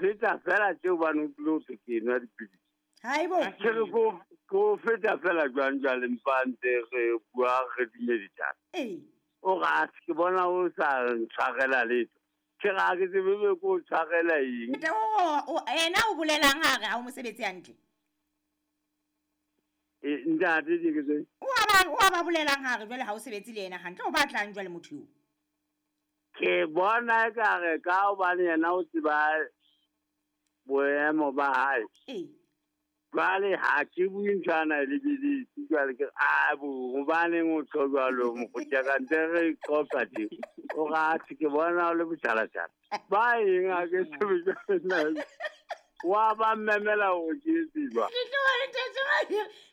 mfeta fela tse hobane o tlile ho thwe ke nwa dipidisi. Haibo. Ke re ko o feta fela jwang jwale mpa ntse re bua re dumedisana. Ee. O re atjhe ke bona o sa ntshwarela letho. Ke re ha ke tsebe be ko o tshwarela eng. Ntate o ena o bolelang ha re ha o mosebetsi hantle? E, ntate ke ke tse. O a ba bolelang ha re jwale ha o sebetse le yena hantle, o batlang jwale motho eo? Ke bona ekare ka hobane yena o tseba boemo ba hae. Ee. Jwale ha ke bue ntho ana e lebeletse jwale ke re, a bo hobaneng o tjho jwalo mokgotsi ya ka ntse re qoqa tje. O re atjhe ke bona o le botjhalatjhala. Ba eng ha ke tsebe jwale nna. Wa ba mmemela hore ke etse jwang. Tletlebo le ntate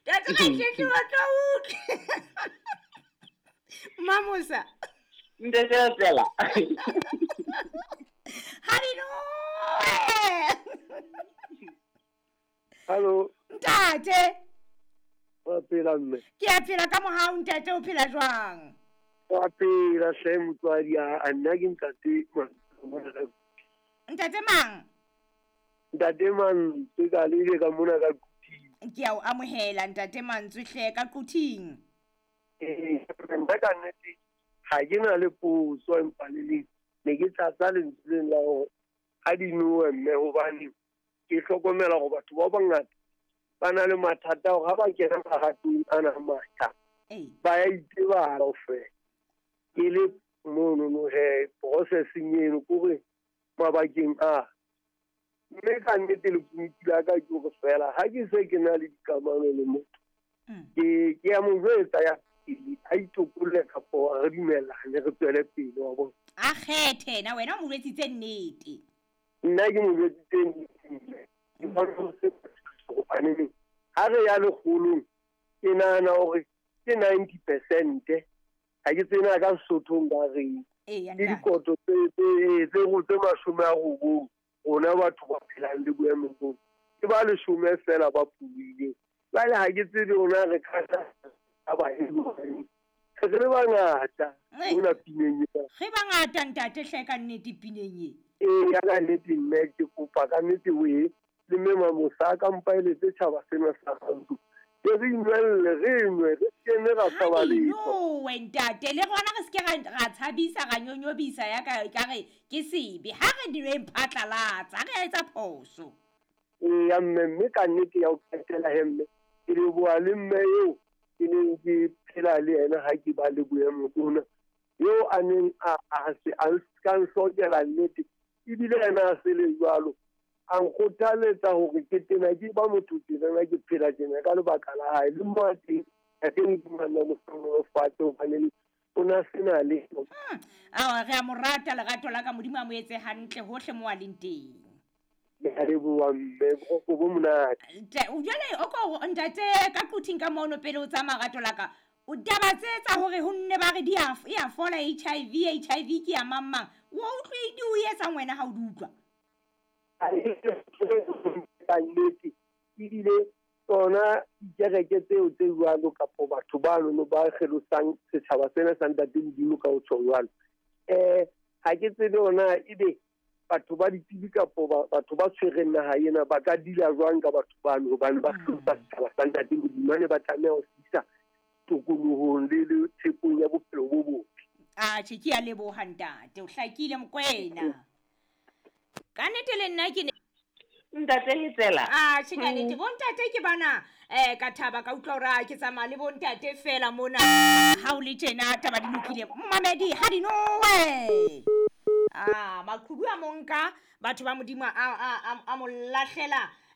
Ntate Ratletlebo tlo utlwe. Mamosa. Ntate Tsela. Hallelujah. Hallo. Ntate. Wa phela mme. Ke a phela ka mohau ntate, o phela jwang? Wa phela hle motswadi, a nna ke ntate. Ntate mang? Ntate Mantswe ka lele ka mona ka Quthing. Ke a o amohela ntate Mantswe hle ka Quthing. Ee, nna ka nnete ha ke na le potso empa le le ne ke tlatsa lentsweng la hore ha di nowe mme, hobane ke hlokomela hore batho ba bangata ba na le mathata hore ha ba kena maratong ana a matjha ba ya itebala kaofela. Ke le monono he processing eno kore mabakeng a mme ka nnete lekunutu la ka ke hore fela ha ke se ke na le dikamano le motho, ke ya mo jwetsa ya pele a itokolle kapo re dumellane re tswele pele, wa bona. A kgethe na wena o mo jwetsitse nnete? Nna ke mo jwetsitse nnete, ke bona ho se hobane ha re ya lekgolong ke nahana hore ke 90%, ha ke tsena ka Sesothong ba reng ke dikoto tse 90, rona batho ba phelang le boemo boo ke ba 10 fela ba phuwileng. Jwale ha ke tsebe rona re ka ba e re le bangata mona pineng ena. Re bangata ntate hle ka nnete pineng e. Ee, ya ka nnete mme ke kopa ka nnete o e le mme Mamosa a ka mpa eletse tjhaba sena sa Rantsho. Ke re inwelle, re nwe, re se ke ra tshaba letho. Nowe ntate, le rona re se ke ra tshabisa, ra nyonyobisa ya ka ekare ke sebe. Ha re dinweng phatlalatsa, ha re etsa phoso. Ee, ya mme, mme ka nnete ya ho qetela he mme, ke leboha le mme eo ke neng ke phela le yena ha ke ba le boemo bona. Eo a neng a se a ka nhlokela nnete, ebile yena a se le jwalo. A nkgothaletsa hore ke tena ke ba motho tjena, ke phela tjena ka lebaka la hae. Le mo a teng, ha ke Modimo a nna mo hlohonolofatse hobane o na sena letho. Awa, re a mo rata lerato la ka, Modimo a mo etse hantle hohle mo a leng teng. Ke a leboha mme, boroko bo monate. Jwale o ko ntate ka Quthing ka mono pele o tsamaya rato la ka. O taba tse tsa hore ho nne ba re di a e a fola HIV, HIV ke ya mang mang. O utlwe di o etsang wena ha o di utlwa? Ka nnete, ebile tsona dikereke tseo tse jwalo kapo batho ba nono ba kgelosang setjhaba sena sa ntate Modimo ka ho tjho jwalo. Ha ke tsebe hore na ebe batho ba ditsebi kapo batho ba tshwereng naha ena ba ka dila jwang ka batho bano, hobane ba kgelosa setjhaba sa ntate Modimo, ba ne ba tlameha ho se isa tokolohong le tshepong ya bophelo bo botle. Atjhe, ke a leboha ntate, o hlakile Mokoena. Ka nnete le nna ke ne Ntate Hetsela. Atjhe, ka nnete bo ntate ke bana, ka thaba ka utlwa hore ke tsamaya le bo ntate fela mona. Ha o le tjena taba di lokile. Mmamedi ha di nowe. Maqhubu a monka batho ba Modimo a mo lahlela.